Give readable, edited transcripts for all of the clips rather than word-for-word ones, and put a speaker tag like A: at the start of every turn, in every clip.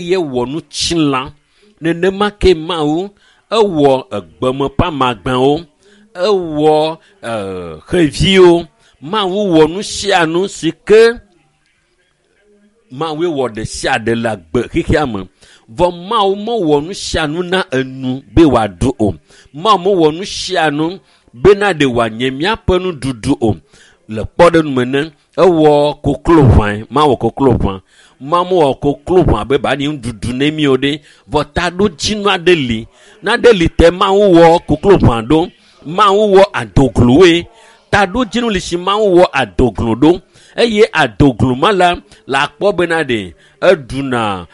A: Eye wɔ nutsilã. Nenema ke Mawu ewɔ egbeme ƒe amagbewo, ewɔ xeviwo. Mawu wɔ nu sia nu si ke Mawue wɔ ɖe sia ɖe le agbe xexea me. Vɔ Mawu mewɔ nu sia nu na enu be wòaɖu o. Mawu mewɔ nu sia nu bena ɖe wòanye míaƒe nuɖuɖu o. Le kpɔɖeŋu me ne ewɔ koklo ʋãe, mawɔ koklo ʋã. Mawu mewɔ koklo ʋã be ba nyi nuɖuɖu ne mi o ɖe. Vɔ taɖodzinu aɖe li. Naɖe li te Mawu wɔ koklo ʋã ɖo. Mawu wɔ adogloe. Taɖodzinu li si Mawu wɔ adoglo ɖo. Eye adoglo ma la, le akpɔ bena ɖe eɖuna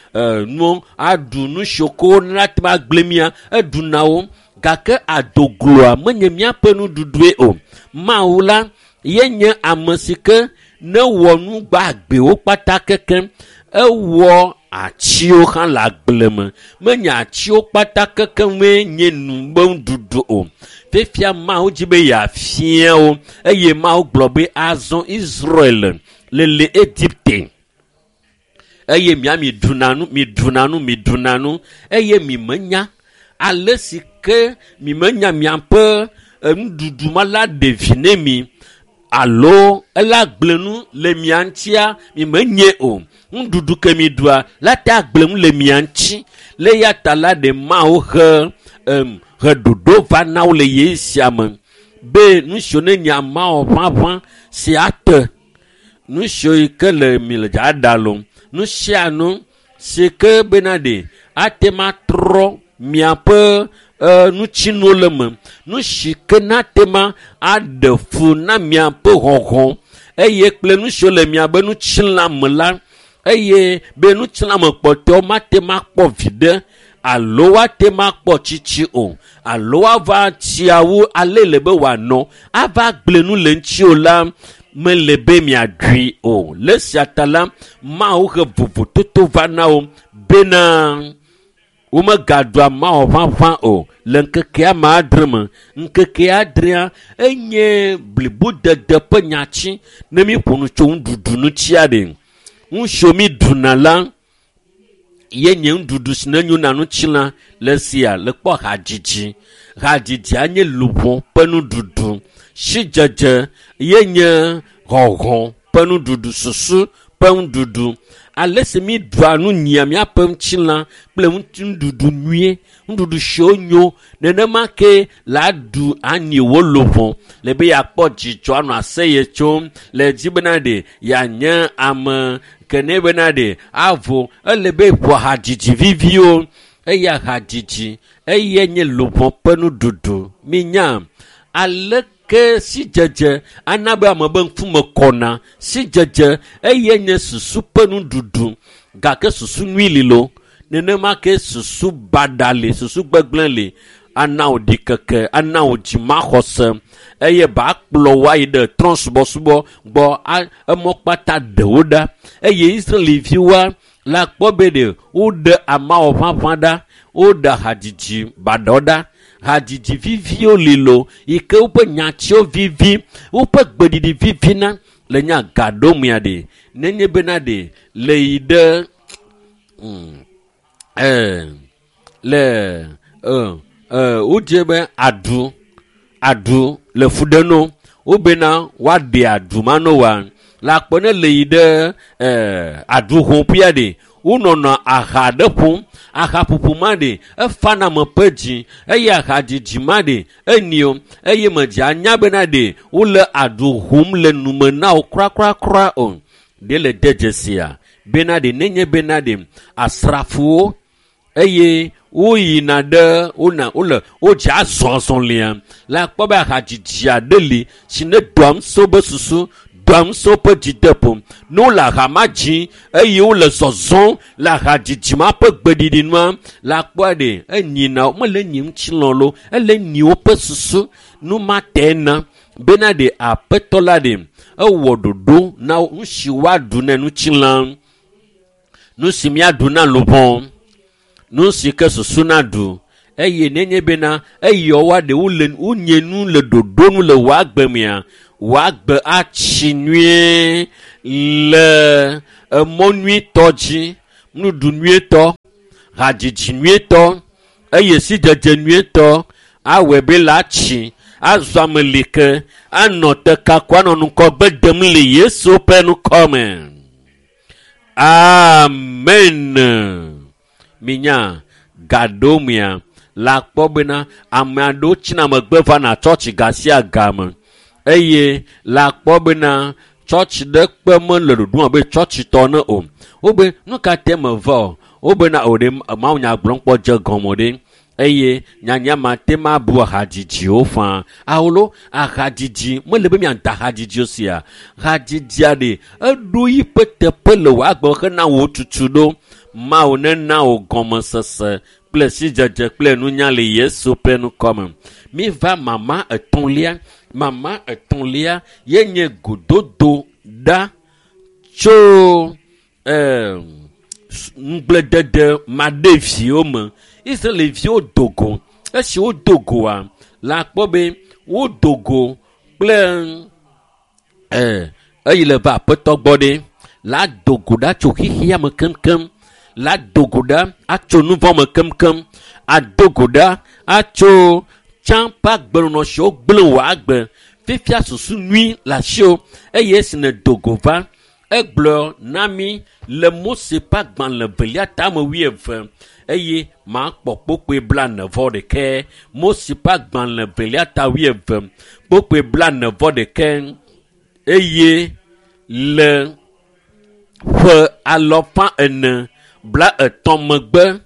A: nu, aɖu nu siwo ko nate ŋu agblẽ mía, eɖuna wo. Gake adogloa menye míaƒe nuɖuɖue o. Mawu la ye nye ame si ke ne wɔ nu gbagbewo kpata kekem. Ewɔ atiwo hã le agble me. Menye atiwo kpata kekemee nye nu be nuɖuɖu o. Fifia Mawu dzi be yeafia wo eye Mawu gblɔ be azɔ Israel le le Egipte. Eye mia mi ɖuna nu, mi ɖuna nu, mi ɖuna nu eye mi menya ale si ke mi menya miaƒe nuɖuɖu ma la ɖe vi ne mi alo ela gblẽ nu le mia ŋutia mi menye o. Nuɖuɖu ke mi ɖua la te agblẽ nu le mia ŋuti. Le ya ta la ɖe Mawu he he ɖoɖo va na wo le ɣeyiɣi sia me be nu siwo ne nye amawɔ ʋaʋã si ate nu siwo yi ke le mi le dza ɖa lo nu sia nu si ke bena ɖe ate ma trɔ miaƒe nutsinuwo le me nu si ke nate ma aɖe fu na miaƒe hɔhɔ eye kple nu siwo le miaƒe nutsilã me la eye be nutsilã me kpɔtɔewo mate ma kpɔ viɖe alo woate ma kpɔ tsitsi o alo woava tsiawo ale le be wòanɔ ava gblẽ nu le ŋuti o la mele be miaɖui o. Le sia ta la Mawu he vovototo va na wo bena womegaɖua mawɔ ʋaʋã o le ŋkekea me adre me. Ŋkeke adrea enye blibodede ƒe nyatsi ne míƒo nu tso nuɖuɖu ŋutia ɖe. Nu siwo mi ɖuna la ye nye nuɖuɖu si ne nyo na ŋutilã le sia le kpɔ hadzidzi. Hadzidzia nye luʋɔ ƒe nuɖuɖu. Sidzedze ye nye hɔhɔ ƒe nuɖuɖu, susu ƒe nuɖuɖu. Ale si mi ɖua nu nyia míaƒe ŋutilã kple nuɖuɖu nyuie, nuɖuɖu siwo nyo nenema ke la ɖu anyi wo luʋɔ le be yeakpɔ dzidzɔ anɔ aseye tsom le dzi bena ɖe yeanye ame ke ne bena ɖe avo ele be ƒo hadzidzi viviwo eya hadzidzi eye nye luʋɔ ƒe nuɖuɖu. Minya aleke sidzedze ana be ame be ŋkume kɔna. Sidzedze eye nye susu ƒe nuɖuɖu gake susu nyui li lo nenema ke susu baɖa li, susu gbegblẽ li ana wò ɖikeke, ana wò dzimaxɔse eye ba kplɔ wo ayi ɖe trɔ̃subɔsubɔ gbɔ emɔ kpata ɖe wo ɖa. Eye Israeliviwoa la kpɔ be ɖe woɖe amawɔ ʋaʋã ɖa, woɖe hadzidzi baɖawo ɖa. Hadzidzi viviwo li lo yi ke woƒe nyatiwo vivi, woƒe gbeɖiɖi vivina le nya gaɖomea ɖe. Nenye bena ɖe le yi ɖe le wodze be aɖu aɖu le fu ɖe no wobena woaɖe aɖu ma no wa la kpɔ ne le yi ɖe aɖu ƒoƒea ɖe wonɔnɔ aha ɖe ƒom. Ahaƒoƒo ma ɖe efana ame ƒe dzi eye ahadzidzi ma ɖe enyo eye medze anya bena ɖe wole aɖu ƒom le nume na wo krakrakra o. Ɖe le de dzesia bena ɖe nenye bena ɖe asrafowo eye woyina ɖe wona wole wodze azɔ azɔlia la kpɔ be ahadzidzi aɖe li si ne doa ŋusẽ wobe susu, doa ŋusẽ woƒe dzideƒo. Ne wole aha ma dzi eye wole zɔzɔm le ahadzidzi ma ƒe gbeɖiɖi nua la kpɔa ɖe enyina mele nyi ŋutilã lo ele nyi woƒe susu. Nu ma te na bena ɖe aƒetɔ la ɖe ewɔ ɖoɖo na wo nu si woaɖu ne ŋutilã, nu si míaɖu na luʋɔ, nu si ke susu naɖu eye nenye bena eyɔ woa ɖe wole wonye nu le ɖoɖo nu le wò agbe mea, wò agbe atsi nyuie le emɔ nyuitɔ dzi. Nuɖuɖu nyuietɔ, hadzidzi nyuietɔ, eye sidzedze nyuietɔ awɔe be la tsi azɔ ame li ke anɔ te kako anɔ ŋgɔgbe dem le Yesu ƒe ŋkɔ me. Amen. Minya gaɖo mia la kpɔ bena ame aɖewo tsina megbe vana tsɔtsi ga sia game eye la kpɔ bena tsɔtsi ɖe kpe mele ɖoɖom abe tsɔtsitɔ ne o. Wobe nu ka te meva o? Wobena o ɖe mawunya gblɔm kpɔ dze gɔme ɖe eye nyanya ma te ma bu ahadzidziwo faa. Awolo ahadzidzi mele be miada ahadzidziwo sia. Hadzidzia ɖe eɖo yiƒe teƒe le wò agbe hena wò tutu ɖo. Mawu nena wò gɔmesese kple sidzedze kple nunya le Yesu ƒe ŋkɔ me. Miva mama etɔ̃lia. Mama etɔ̃lia ye nye gododo ɖa tso ŋugbledede maɖeviwo me. Israelviwo do go. Esi wodo goa, la kpɔ be wodo go kple eyi le va aƒetɔ gbɔ ɖe. La do go ɖa tso xexea me keŋkeŋ. La do go ɖa atso nu vɔ̃ me keŋkeŋ. Ado go ɖa atso tsã ƒe agbenɔnɔ siwo gblẽ wò agbe. Fifia susu nyui le asiwò eye esi nèdo go va, egblɔ na mi le Mose ƒe agbalẽ velia tame wuieve eye makpɔ kpokpoe 41. Mose ƒe agbalẽ velia ta 11 kpokpoe 41 eye le ƒe 430 megbe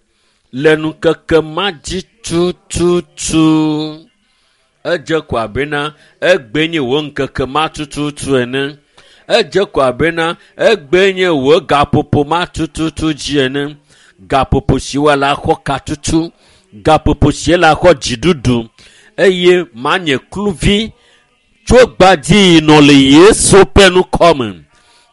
A: le ŋkeke ma dzi tututu. Edze ko abena egbe nye wò ŋkeke ma tututu ene. Edze ko abena egbe nye wò gaƒoƒo ma tututu dzi ene. Gaƒoƒo si woala xɔ katutu, gaƒoƒo si la xɔ dziɖuɖu eye manye kluvi tso gbadzi yi nɔ le Yesu ƒe ŋkɔ me.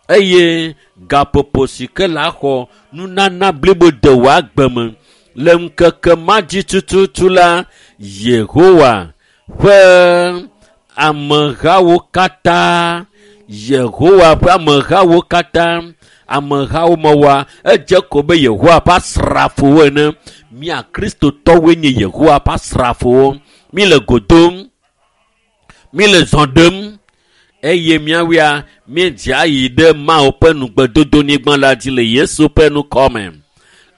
A: Eye gaƒoƒo si ke la xɔ nunana blibo de wò agbe me le ŋkeke ma dzi tututu la, Yehowa ƒe amehawo katã, Yehowa ƒe amehawo katã, amehawo mewɔa edze ko be Yehowa ƒe asrafowo ene. Mía Kristotɔwoe nye Yehowa ƒe asrafowo. Mi le go dom, mi le zɔ ɖem eye míawoa míedze ayi ɖe Mawu ƒe ŋugbedodonyigba la dzi le Yesu ƒe ŋkɔ me.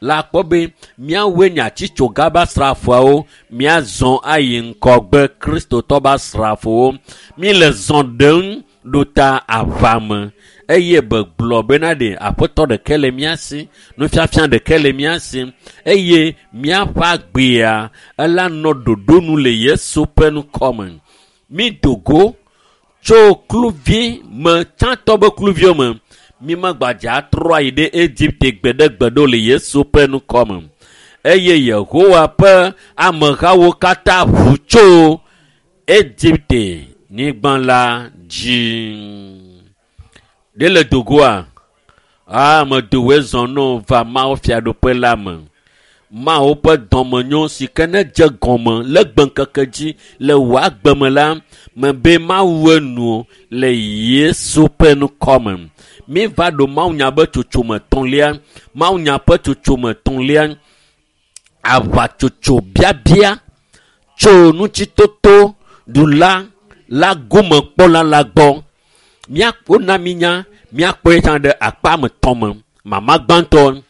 A: La kpɔ be míawoe nye atsitsoga ƒe asrafoawo, míazɔ ayi ŋgɔgbe Kristotɔ ƒe asrafowo. Mi le zɔ ɖem ɖo ta aʋa me eye be gblɔ bena ɖe aƒetɔ ɖeke le mía si, nufiafia ɖeke le mía si eye míaƒe agbea ela nɔ ɖoɖo nu le Yesu ƒe ŋkɔ me. Mi do go tso kluvi me, tsãtɔ be kluviwo me. Mi megbadze atrɔ ayi ɖe Egipte gbeɖegbeɖe le Yesu ƒe ŋkɔ me. Eye Yehowa ƒe amehawo katã ʋu tso Egipte nyigba la dzi. Ɖe le dogoa? Ame dowoe zɔ no va Mawu fiaɖuƒe la me. Mawu ƒe dɔmenyo si ke ne dze gɔme le gbeŋkeke dzi le wò agbe me la, mebe Mawu enu le Yesu ƒe ŋkɔ me. Mi va ɖo mawunya ƒe tsotsome etɔ̃lia, mawunya ƒe tsotsome etɔ̃lia, aʋatsotso biabia tso ŋutitoto ɖula la gomekpɔla la gbɔ. Wona mi nya, míakpɔe tsã ɖe akpa me tɔ̃ me. Mama gbãtɔ,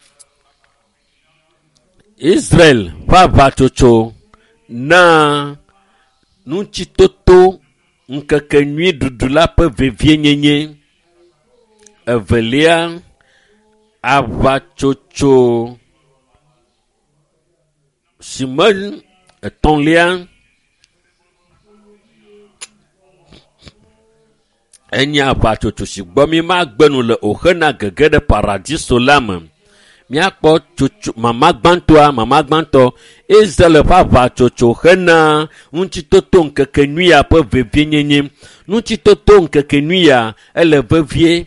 A: Israel ƒe aʋatsotso na ŋutitoto ŋkeke nyui ɖuɖu la ƒe vevienyenye. Evelia, aʋatsotso si me etɔ̃lia enye aʋatsotso si gbɔ mi magbe nu le o hena gege ɖe paradiso la me. Míakpɔ tsotso mama gbãtɔa, mama gbãtɔ Israel ƒe aʋatsotso hena ŋutitoto ŋkeke nyuia ƒe vevienyenye. Ŋutitoto ŋkeke nyuia ele vevie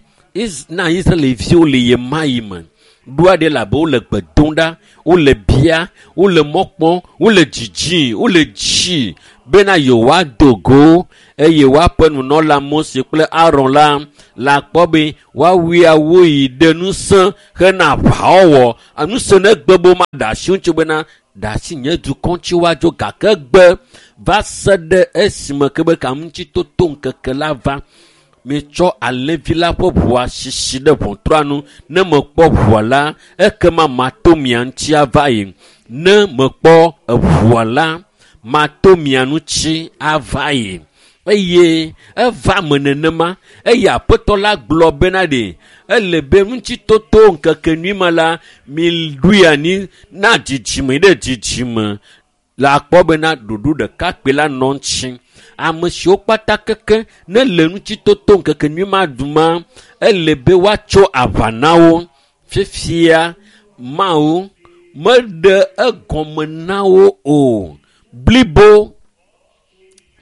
A: na Israelviwo le ɣe ma ɣi me. Ɖoa ɖe labe wole gbe dom ɖa, wole bia, wole mɔ kpɔm, wole dzidzim, wole dzi bena yewoado go eye woaƒe nunɔla Mose kple Aron la la kpɔ be woawui awu yi ɖe ŋusẽ hena aʋawɔwɔ. Ŋusẽ ne gbe be womaɖe asi ŋuti bena ɖe asi nye dukɔ ŋuti woadzo gake gbe va se ɖe esime ke be kaŋutitoto ŋkeke la va. Mitsɔ alẽvi la ƒe ʋua sisi ɖe ʋɔtrua nu. Ne mekpɔ ʋua la, ekema mato mia ŋuti ava yi. Ne mekpɔ eʋua la, mato mia ŋuti ava yi. Eye eva me nenema. Eye aƒetɔ la gblɔ bena ɖe ele be ŋutitoto ŋkeke nyui ma la miɖoe anyi na dzidzime ɖe dzidzime. Le akpɔ bena ɖoɖo ɖeka kpe la nɔ ŋuti. Ame siwo kpata keke ne le ŋutitoto ŋkeke nyui ma ɖum ele be woatso aʋa na wo. Fifia Mawu meɖe egɔme na wo o. Blibo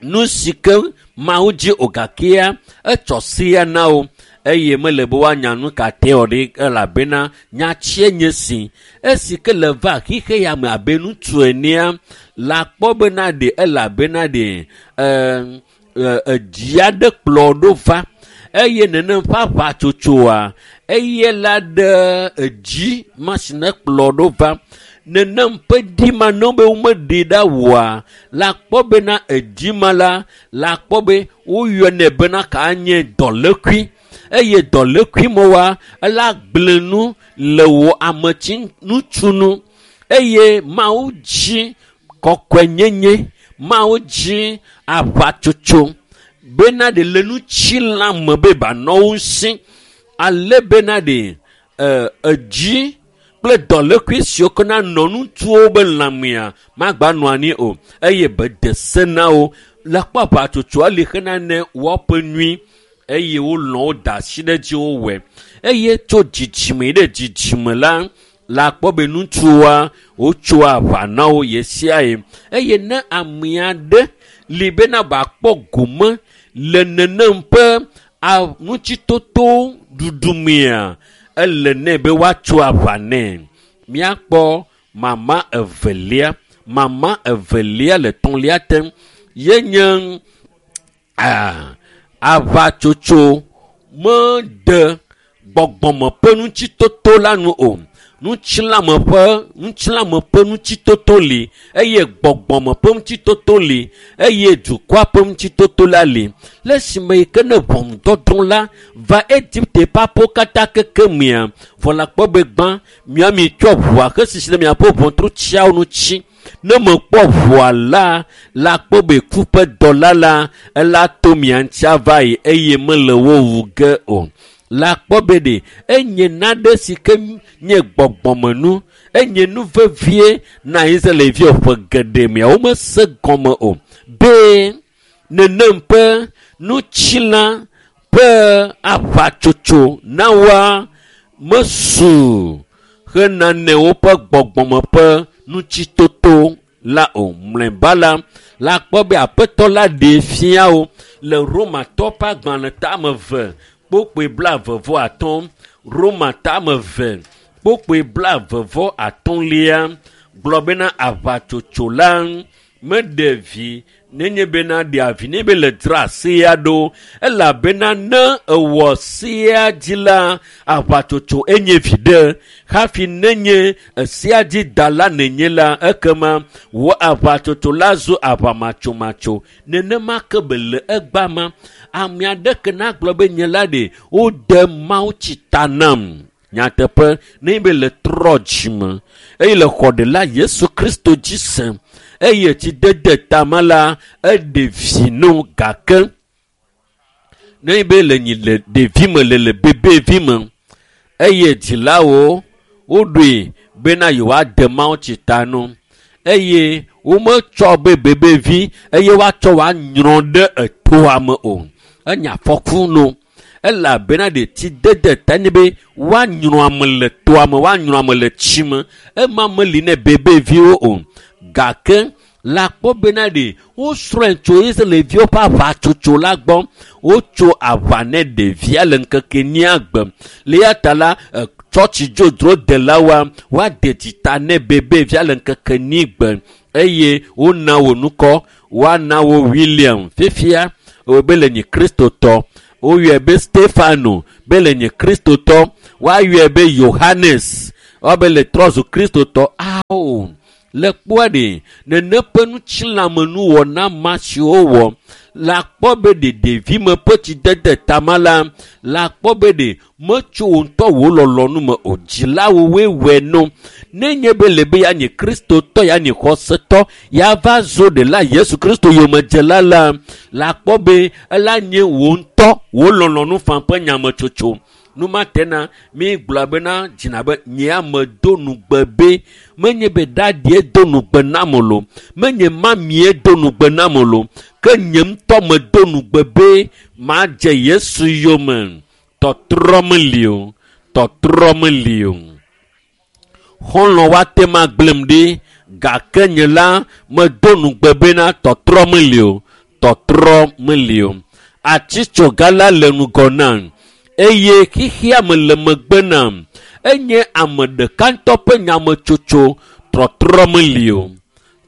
A: nu si ke Mawu dzi o gakea etsɔ sea na wo eye mele be woanya nu ka te wɔ ɖi elabena nyatsie nye si. Esi ke le va xixe ya me abe ŋutsu enea la kpɔ bena ɖe elabena ɖe edzi aɖe kplɔ ɖo va eye nenem ƒe aʋatsotsoa eye la ɖe edzi ma si ne kplɔ ɖo va. Nenem ƒe ɖi ma ne be womeɖe ɖa oa la kpɔ bena edzi ma la la kpɔ be woyɔnɛ bena ka nye dɔlékui eye dɔlékui me wa ela gblẽ nu le wò ametsi ŋutsu eye Mawu dzi kɔkɔenyenye, Mawu dzi aʋatsotso bena ɖe le ŋutilã me be banɔ wo ŋuti ale bena ɖe edzi kple dɔlékui siwo ke na nɔ ŋutsuwo be lãmea magba nɔ anyi o eye be de se na wo le kpɔ aʋatsotsoa li hena ne woaƒe nyui eye wolɔ̃ wo da asi ɖe dzi wowɔe eye tso dzidzime ɖe dzidzime la la kpɔ be ŋutsuwoa wotsoa aʋa na wo ɣe sia ɣi eye ne ame aɖe li bena wòakpɔ gome le nenem ƒe ŋutitoto ɖuɖu mea ele nɛ be woatso aʋa nɛ. Míakpɔ mama evelia. Mama evelia le tɔ̃lia te ye nye aʋatsotso mede gbɔgbɔme ƒe ŋutitoto la nu o. Ŋutilãme ƒe ŋutitoto li eye gbɔgbɔme ƒe ŋutitoto li eye dukɔa ƒe ŋutitoto la li. Le esime yi ke ne ʋɔnudɔdrɔ̃ la va Egipte ƒe aƒewo katã keke mea, vɔ le akpɔ be gbã mia mitsɔ ʋua hesisi ɖe miaƒe ʋɔtrutsiawo ŋuti. Ne mekpɔ ʋua la, la kpɔ be ku ƒe dɔla la ela to mia ŋuti ava yi eye mele wo wu ge o. La kpɔ be ɖe enye nane si ke nye gbɔgbɔmenu, enye nu vevie na Israelviwo ƒe geɖe mea womese gɔme o be nenem ƒe ŋutilã ƒe aʋatsotso na woa mesu hena ne woƒe gbɔgbɔme ƒe ŋutitoto la o. Mlɔeba la, la kpɔ be aƒetɔ la ɖee fia wo le Romatɔ ƒe agbalẽ tame eve kpokpoe 25. Roma tame eve kpokpoe 25 gblɔ bena aʋatsotso la meɖe vi nenye bena ɖe avi ne be le dzra sea ɖo elabena ne ewɔ sea dzi la aʋatsotso enye vi ɖe hafi nenye sea dzi da la nenye la ekema wò aʋatsotso la zu aʋamatsomatso. Nenema ke be le egba ma ame aɖeke nagblɔ be nye la ɖe wode Mawu tsi ta nam. Nyateƒe ne be le trɔ dzime eye le xɔɖela Yesu Kristo dzi se eye tsi dede tame la eɖe vi no gake ne be le nyi le ɖevi me le bebevi me eye dzilawo woɖoe bena yewoade Mawu tsi ta no eye wometsɔ be bebevi eye woatsɔ woanyrɔ ɖe etoa me o. Enya afɔku no elabena ɖe tsi dede ta nye be woanyrɔ ame le toa me, woanyrɔ ame le tsi me. Ema meli ne bebeviwo o. Gake la kpɔ bena ɖe wosrɔ̃e tso Israelviwo ƒe aʋatsotso la gbɔ. Wotso aʋa ne ɖevia le ŋkeke nyia gbe. Le ya ta la, Tsɔtsi dzodzro delawoa woade dzita ne bebe via le ŋkeke nigbe eye wona wo nukɔ woana wo William fifia be le nye kristotɔ woyɔe be Stefano be le nye kristotɔ woayɔe be Yohanes woabe le trɔ zu kristotɔ ao le kpɔa ɖe nene ƒe ŋutilãmenuwɔna ma siwo wɔ la kpɔ be ɖe ɖevime ƒe tsidede tama la la kpɔ be ɖe metso wo ŋutɔ wò lɔlɔ̃nu me o dzilawo woe wɔe no nenye be le be ya nye kristotɔ ya nye xɔsetɔ ya va zo ɖela Yesu Kristo yomedzela la la kpɔ be ela nye wò ŋutɔ wò lɔlɔ̃nu fã ƒe nyametsotso numatena mi gblɔ bena dzina be nye ame do nugbe be menye be dadie do nugbe nam lo menye mamie do nugbe nam lo ke nye ŋutɔ me do nugbe be madze Yesu yome tɔtrɔ meli o tɔtrɔ meli o xɔlɔ̃ woate ma gblẽm ɖi gake nye la medo nugbe bena tɔtrɔ meli o tɔtrɔ meli o atitsoga la le ŋgɔ nam eye xixia me le megbe nam enye ame ɖeka ŋutɔ ƒe nyametsotso trɔtrɔ meli o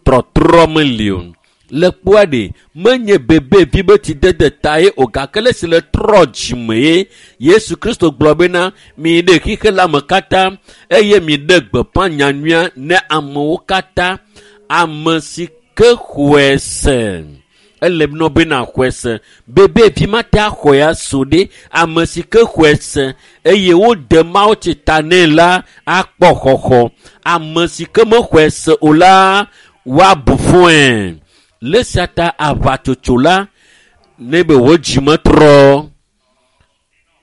A: trɔtrɔ meli o le kpɔa ɖe menye bebevi be tsidede ta ye o gake le si le trɔ dzime ye Yesu Kristo gblɔ bena mi ɖe xixe la me katã eye mi ɖe gbeƒã nyanyuia ne amewo katã ame si ke xɔe se ele nɔ bena xɔe se bebevi mate axɔe aso ɖe ame si ke xɔe se eye wode Mawu tsi ta nɛ la akpɔ xɔxɔ ame si ke mexɔe se o la woabu fɔe le sia ta aʋatsotso la ne be wò dzime trɔ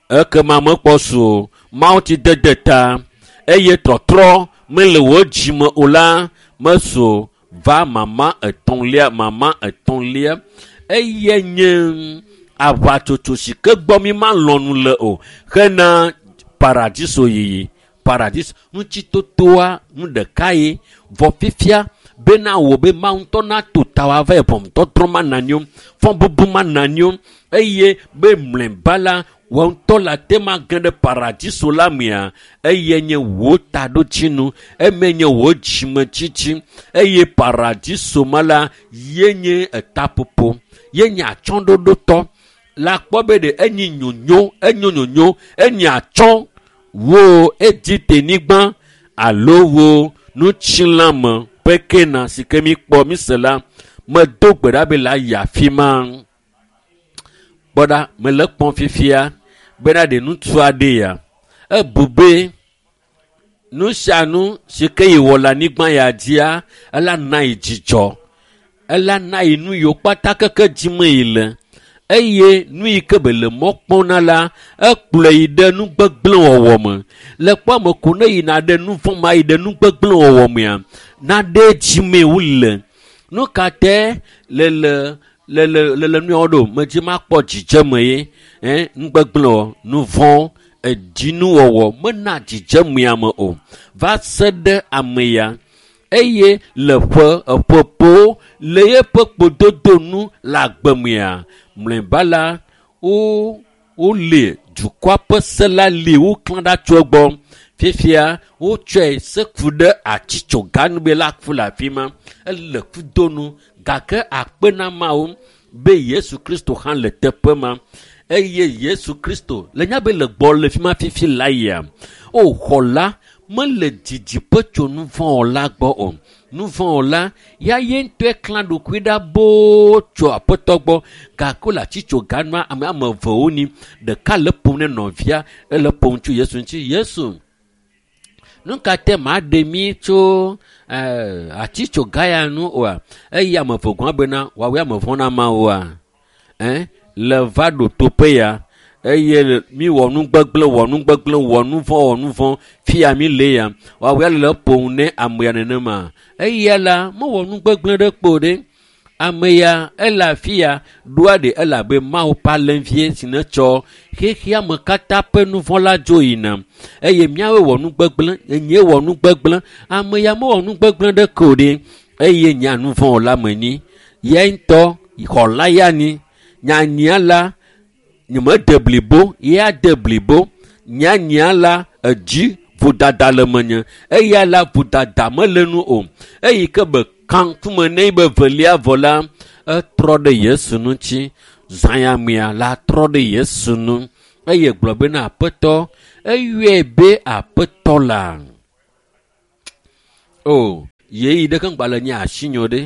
A: ekema mekpɔ su o Mawu tsi dede ta eye trɔtrɔ mele wò dzime o la mesu va mama etɔ̃lia eye nye aʋatsotso si ke gbɔ mi malɔ̃ nu le o hena paradiso yiyi paradiso ŋutitotoa nu ɖeka ye vɔ fifia bena wò be Mawu ŋutɔ nato ta wòava yi ʋɔnudɔdrɔ̃ ma nanyo fɔbubu ma nanyo eye be mlɔeba la wò ŋutɔ la te ma ge ɖe paradiso la mea eye nye wò taɖodzinu eme nye wò dzimetsitsi eye paradiso ma la ye nye etaƒoƒo ye nye atsyɔ̃ɖoɖotɔ la kpɔ be ɖe enyi nyonyo enyo nyonyo enyi atsyɔ̃ wo Egipte-nyigba alo wo ŋutilãme ƒe kena si ke mi kpɔ mi se la medo gbe ɖa be la yi afi ma kpɔ ɖa mele kpɔm fifia bena ɖe ŋutsu aɖe ya ebu be nu sia nu si ke yi wɔ le anyigba ya dzia ela na yi dzidzɔ ela na yi nu yiwo kpata keke dzime yi le eye nu yi ke be le mɔ kpɔm na la ekplɔe yi ɖe nu gbegblẽ wɔwɔ me le kpɔ ame ko ne yina ɖe nu vɔ̃ ma yi ɖe nu gbegblẽ wɔwɔ mea naɖe dzime wole nu ka te le le le le nuyawo ɖo medzi makpɔ dzidzeme ye nu gbegblẽ wɔ nu vɔ̃ edzinuwɔwɔ mena dzidzemea me o va se ɖe ame ya eye le ƒe eƒeƒo le yeƒe kpododo nu le agbemea mlɔeba la wole dukɔa ƒe se la li woklã ɖa tso egbɔ fifia wotsɔe seku ɖe atitsoga nu be la ku le afi ma ele kudonu gake akpe na Mawu be Yesu Kristo hã le teƒe ma eye Yesu Kristo le nya be le gbɔ le fi ma fifi la yia o xɔla mele didiƒe tso nu vɔ̃ la gbɔ o nu vɔ̃ la ya ye ŋutɔe klã ɖokui ɖa boo tso aƒetɔ gbɔ gake wole atitsoga nua ame ame evewo ni ɖeka le ƒom ne nɔvia ele ƒom tso Yesu ŋuti Yesu nu ka te maɖe mi tso atitsoga ya nu oa eye ame eve gɔ̃ bena woawoe ame vɔ̃ na Mawua le va ɖo toƒe ya eye mi wɔ nu gbegblẽ wɔ nu gbegblẽ wɔ nu vɔ̃ wɔ nu vɔ̃ fia mi le ya woawoe le ƒom ne ame ya nenema eya la mewɔ nu gbegblẽ ɖe kpo ɖe ame ya ele afi ya ɖoa ɖe ele abe Mawu ƒe alẽvie si ne tsɔ xexea me katã ƒe nu vɔ̃ la dzo yina eye míawoe wɔ nu gbegblẽ enye wɔ nu gbegblẽ ame ya mewɔ nu gbegblẽ ɖe ko ɖe eye nye nu vɔ̃ la me nyi ya ŋutɔ xɔla ya ni nyanyia la nyemede blibo ya de blibo nyanyia la edzi vodada le menye eya la vodada mele nu o eyi ke be ka ŋkume ne be velia vɔ la etrɔ ɖe Yesu ŋuti zãyamea la trɔ ɖe Yesu nu eye gblɔ bena aƒetɔ eyɔe be aƒetɔ la o yeyi ɖeke ŋgba le nye asinyo ɖe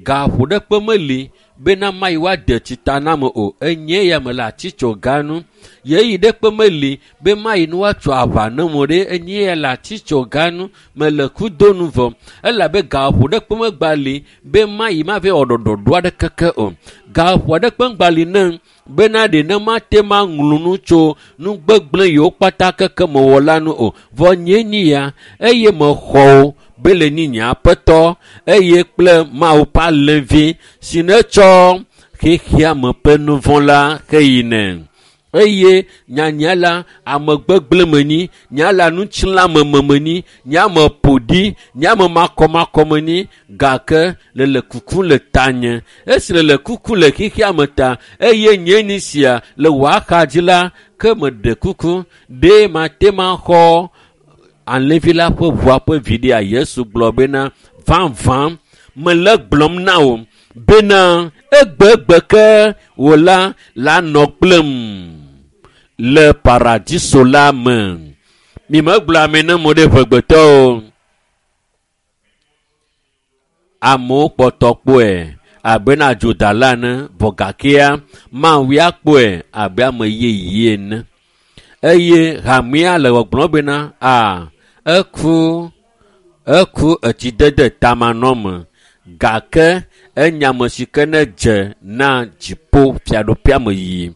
A: gaƒo ɖe kpe meli bena mayi woade tsita na me o enye ya me le atitsoga nu yeyi ɖe kpe meli be mayi ne woatso aʋa ne mo ɖe enye ya le atitsoga nu mele kudo nu vɔ elabe gaƒo ɖe kpe megba li be mayi ma va wɔ ɖɔɖɔɖo aɖe keke o gaƒo aɖe kpe ŋgba li ne bena ɖe ne mate ma ŋlɔ nu tso nu gbegblẽ yiwo kpata keke mewɔ la nu o vɔ nye nyi ya eye mexɔ wo be le nyi nye aƒetɔ eye kple Mawu ƒe alẽvi si ne tsɔ xexea me ƒe nu vɔ̃ la heyinɛ eye nyanya la ame gbegblẽ me nyi nya la ŋutilãmeme me nyi nya me ƒo ɖi nya me makɔmakɔ me nyi gake le le kuku le tanye esi le le kuku le xexea me ta eye nye ni sia le wò axadzi la ke meɖe kuku ɖe mate ma xɔ alẽvi la ƒe ʋua ƒe viɖea Yesu gblɔ bena vavã mele gblɔm na wò bena egbegbe ke wò la la nɔ kplem le paradiso la me. Mimegblɔ ame ne mo ɖe ʋegbetɔ o. Amewo kpɔtɔ kpɔe abe na adzodala ene vɔ gakea Mawu ya kpɔe abe ame yeye ene. Eye hamea le gbɔgblɔm bena a eku eku etsidede tamanɔme gake enya ame si ke ne dze na dziƒo fiaɖuƒea me yiyi.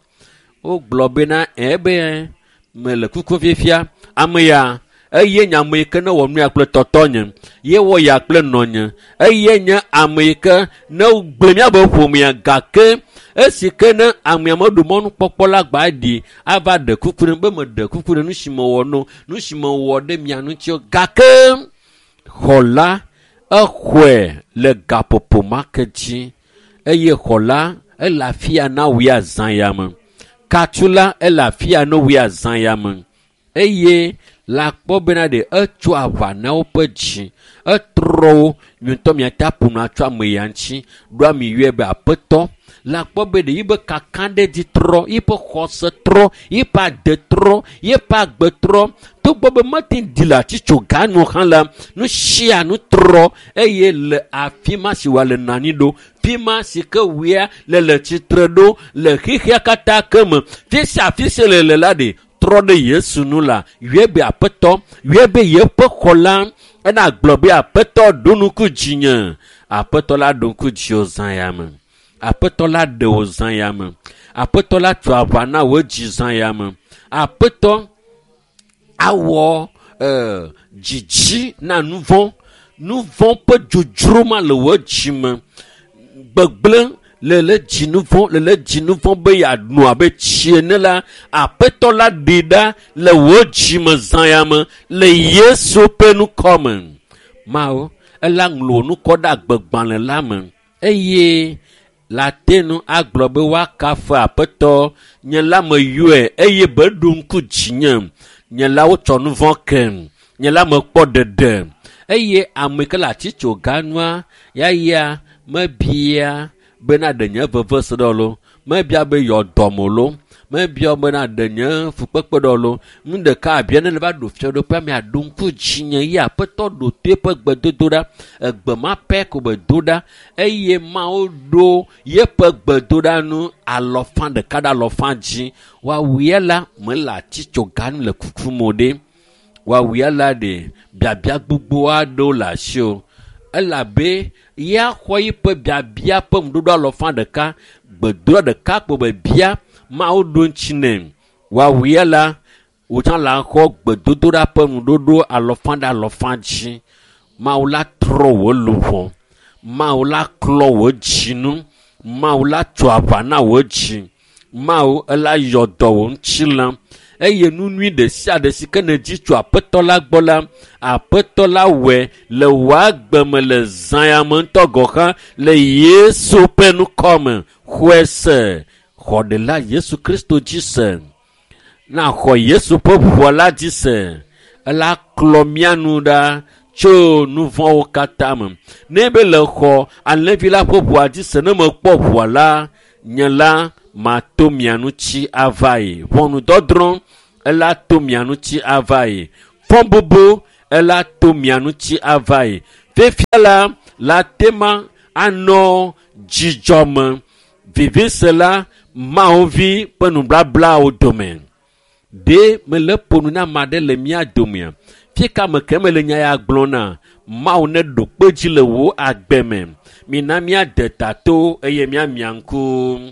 A: Wogblɔ bena ebe mele kuku fifia ame ya eye nye ame yi ke ne wɔ nu ya kple tɔtɔnye ye wɔ ya kple nɔnye eye nye ame yi ke ne gblẽ míabe ƒomea gake esi ke ne amea meɖo mɔnukpɔkpɔ la gba ɖi ava ɖe kuku ɖe be meɖe kuku ɖe nu si mewɔ no nu si mewɔ ɖe mia ŋuti o gake xɔ la exɔe le gaƒoƒo ma ke dzi eye xɔ la ele afia na wò ya zã ya me katsu la ele afia na wò ya zã ya me eye la kpɔ bena ɖe etso aʋa na woƒe dzi etrɔ wo miatɔ miate ƒo nu atso ame ya ŋuti ɖo ami yɔe be aƒetɔ la kpɔ be ɖe yibe kakaɖedzi trɔ yiƒe xɔse trɔ yiƒe ade trɔ yiƒe agbe trɔ togbɔ be mete ɖi le atitsoga nu hã la nu sia nu trɔ eye le afi ma si wòale nɔ anyi ɖo fi ma si ke wòya le le tsitre ɖo le xexea katã ke me fi sia afi si le le la ɖe trɔ ɖe Yesu nu la yɔe be aƒetɔ yɔe be yeƒe xɔ la ena gblɔ be aƒetɔ ɖo ŋku dzinye aƒetɔ la ɖo ŋku dziwò zã ya me aƒetɔ la ɖe wò zã ya me aƒetɔ la tso aʋa na wò dzi zã ya me aƒetɔ awɔ dzidzi na nu vɔ̃ nu vɔ̃ ƒe dzodzro ma le wò dzi me gbegblẽ le le dzi nu vɔ̃ le le dzi nu vɔ̃ be yeano abe tsi ene la aƒetɔ la ɖi ɖa le wò dzi me zã ya me le Yesu ƒe ŋkɔ me Mawu ela ŋlɔ wò ŋkɔ ɖe agbegbalẽ la me eye la te nu agblɔ be woakafu aƒetɔ nye la meyɔe eye be ɖo ŋku dzinye nye la wotsɔ nu vɔ̃ kem nye la mekpɔ ɖeɖe eye ame yi ke le atitsoga nua yaya mebia bena ɖe nye vevese ɖe lo mebia be yɔ dɔme lo mebia bena ɖe nye fukpekpe ɖe lo nu ɖeka abia ne le va ɖo fiaɖuƒea me aɖo ŋku dzinye ye aƒetɔ ɖo to eƒe gbedodoɖa egbe ma pɛ ko be do ɖa eye Mawu ɖo yeƒe gbedoɖa nu alɔfa ɖeka ɖe alɔfa dzi woawuia la mele atitsoga nu le kukum o ɖe woawuia la ɖe biabia gbogbo aɖewo le asi o elabe ya xɔ yiƒe biabia ƒe ŋuɖoɖo alɔfa ɖeka gbedoɖa ɖeka kpo be bia Mawu ɖo ŋuti nɛ woawuia la wòtsã la xɔ gbedodoɖa ƒe ŋuɖoɖo alɔfa ɖe alɔfa dzi Mawu la trɔ wò luʋɔ Mawu la klɔ wò dzinu Mawu la tso aʋa na wò dzi Mawu ela yɔ dɔ wò ŋutilã eye nu nyui ɖe sia ɖe si ke nèdzi tso aƒetɔ la gbɔ la aƒetɔ la wɔe le wò agbe me le zã ya me ŋutɔ gɔ̃ hã le Yesu ƒe ŋkɔ me xɔe se xɔ ɖela Yesu Kristo dzi se na xɔ Yesu ƒe ʋua la dzi se Ela klɔ mía nu ɖa tso nu vɔ̃wo katã me. Ne be le xɔ alẽvi la ƒe ʋua dzi se ne mekpɔ ʋua la, nye la mato mia ŋuti ava yi. Ʋɔnudɔdrɔ̃ ela to mia ŋuti ava yi. Fɔbubu ela to mia ŋuti ava yi. Fifia la, la tema anɔ dzidzɔ me. Vivisela Mawu vi ƒe nubablawo dome. Ɖe mele ƒo nu na ame aɖe le mía domea? Fika me ke mele nya ya gblɔ na? Mawu neɖo kpe dzi le wò agbe me. Mina míade ta to eye míamia ŋku.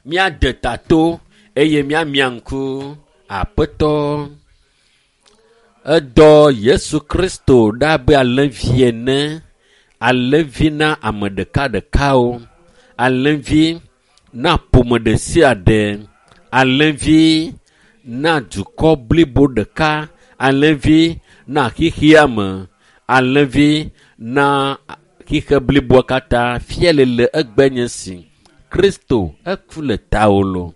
A: Míade ta to eye míamia ŋku. Aƒetɔ, edɔ Yesu Kristo ɖa abe alẽvi ene. Alẽvi na ame ɖekaɖekawo. Alẽvi na ƒome ɖe sia ɖe. Alẽvi na dukɔ blibo ɖeka. Alẽvi na xexea me. Alẽvi na xixe bliboa katã. Fia le le egbe nye si. Kristo eku le tawò lo.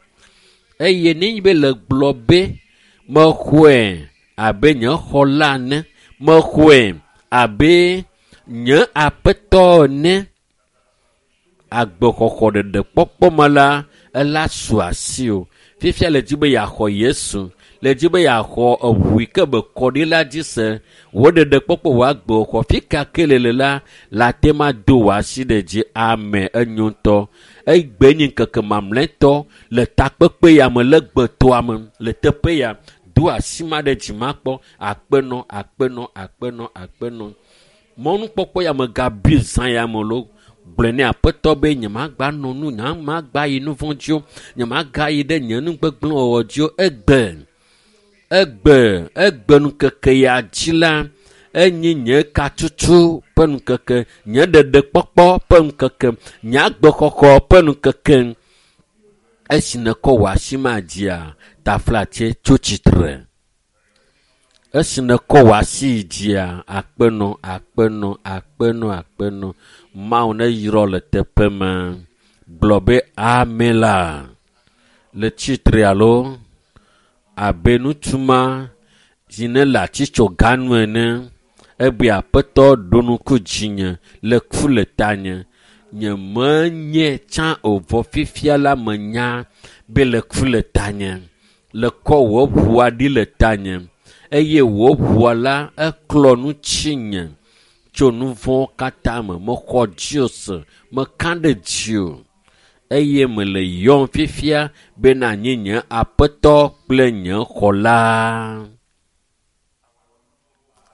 A: Eye nenye be le gblɔ be mexɔe abe nye xɔla ene, mexɔe abe nye aƒetɔ ene, agbexɔxɔ ɖeɖe kpɔkpɔ me la, ela su asiwò. Fifia le dzi be yeaxɔ Yesu, le dzi be yeaxɔ eʋu yi ke be kɔ ɖi la dzi se. Wò ɖeɖe kpɔkpɔ wò agbexɔ fika ke le le la, la te ma do wò asi ɖe dzi. Amen. Enyo ŋutɔ. Egbe nye ŋkeke mamlɛtɔ le takpekpe ya me le gbetoa me le teƒe ya. Do asi ma ɖe dzi makpɔ. Akpenɔ, akpenɔ, akpenɔ, akpenɔ. Mɔnukpɔkpɔ ya megabui zã ya me lo. Gblɔe ne aƒetɔ be nyemagba nɔ nu, nyemagba yi nu vɔ̃ dzi o, nyemagayi ɖe nye nu gbegblẽ wɔwɔ dzi o. Egbe, egbe, egbe ŋkeke ya dzi la, enye nye katutu ƒe ŋkeke, nye ɖeɖekpɔkpɔ ƒe ŋkeke, nye agbexɔxɔ ƒe ŋkeke. Esi nèkɔ wò asi ma dzia, taflatse tso tsitre. Esi nèkɔ wò asi dzia, akpenɔ, akpenɔ, akpenɔ, akpenɔ. Mawu neyrɔ le teƒe ma. Gblɔ be amen la. Le tsitre alo abe ŋutsu ma si ne le atsitsoga nu ene. Egbe aƒetɔ ɖo ŋku dzinye le ku le tanye. Nyemenye tsã o vɔ fifia la menya be le ku le tanye. Le kɔ wò ʋua ɖi le tanye eye wò ʋua la eklɔ nu tsinye tso nu vɔ̃wo katã me. Mexɔ dziwò se, meka ɖe dziwò eye mele yɔm fifia be nànye nye aƒetɔ kple nye xɔla.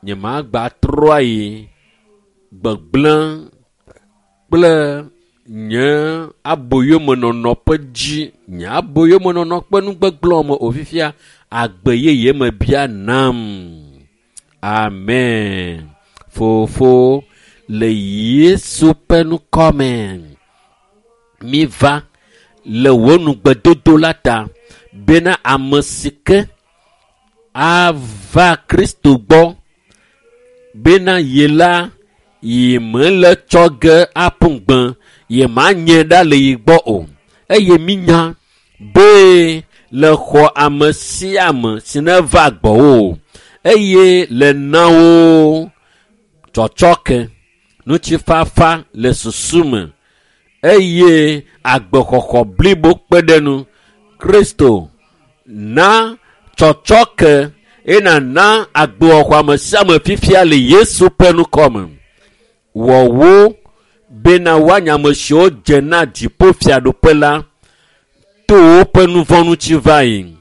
A: Nyemagba trɔ ayi gbegblẽ kple nye aboyomenɔnɔ ƒe dzi, nye aboyomenɔnɔ ƒe nugbegblẽwo me o fifia agbe yeye me bia nam. Amen. Fofo, le Yesu ƒe ŋkɔ me, míva le wò nugbedodo la ta bena ame si ke ava Kristo gbɔ bena ye la yi mele tsɔ ge aƒu gbe, ye manye ɖa le yi gbɔ o. Eye mínya be le xɔ ame sia ame si neva gbɔwò eye le na wo tsɔtsɔke, ŋutifafa le susu me eye agbexɔxɔ blibo kpe ɖe nu. Kristo na tsɔtsɔke eye nàna agbexɔxɔ ame sia ame fifia le Yesu ƒe ŋkɔ me. Wɔ wo bena woanye ame siwo dze na dziƒofiaɖuƒe la to woƒe nu vɔ̃ ŋuti va yi,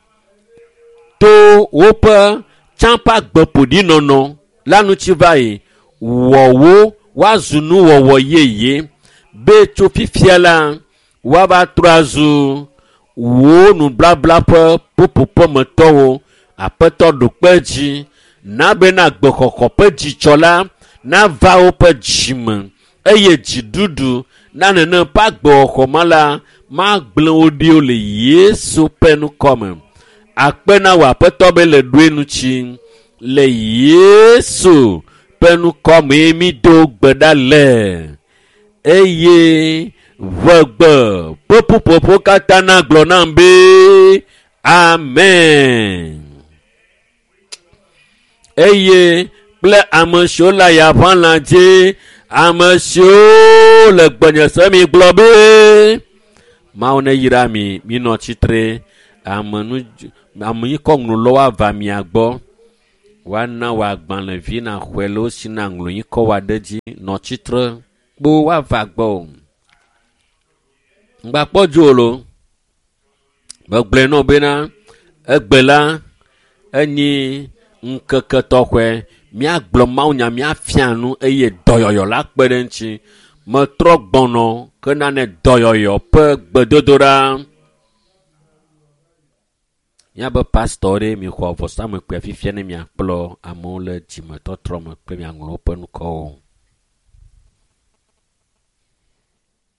A: to woƒe tsã ƒe agbe ƒoɖinɔnɔ la ŋuti va yi. Wɔ wo woazu nuwɔwɔ yeye be tso fifia la woava trɔ azu wò nublabla ƒe ƒuƒoƒemetɔwo. Aƒetɔ ɖo kpe dzi na bena agbexɔxɔ ƒe dzidzɔ la nava woƒe dzime eye dziɖuɖu na nenem ƒe agbexɔxɔ ma la magblẽ wo ɖi o le Yesu ƒe ŋkɔ me. Akpe na wò aƒetɔ be le ɖoe ŋuti le Yesu ƒe ŋkɔ mee mído gbe ɖa le eye ʋegbe ƒe ƒuƒoƒo katã nagblɔ nam be amen. Eye kple ame siwo le ayaʋalã dzi, ame siwo le gbenye se mi gblɔ be Mawu ne yra mi, minɔ tsitre. Ame nu ame yi kɔ ŋlɔ woava mia gbɔ. Woana wò agbalẽvi naxɔe le wo si na ŋlɔ yi kɔ wa ɖe dzi. Nɔ tsitre kpo woava gbɔ o. Ŋgbakpɔ dzo lo. Megblɔe nɔ bena egbe la enyi ŋkeke tɔxɛ. Míagblɔ mawunya, míafia nu eye dɔyɔyɔ la kpe ɖe ŋuti. Metrɔ gbɔnɔ ke nane dɔyɔyɔ ƒe gbedodoɖa. Míabe pastɔ ɖe mixɔ vɔsamlekpuia fifia ne miakplɔ amewo le dzimetɔtrɔ me kple miaŋlɔ woƒe ŋkɔwo.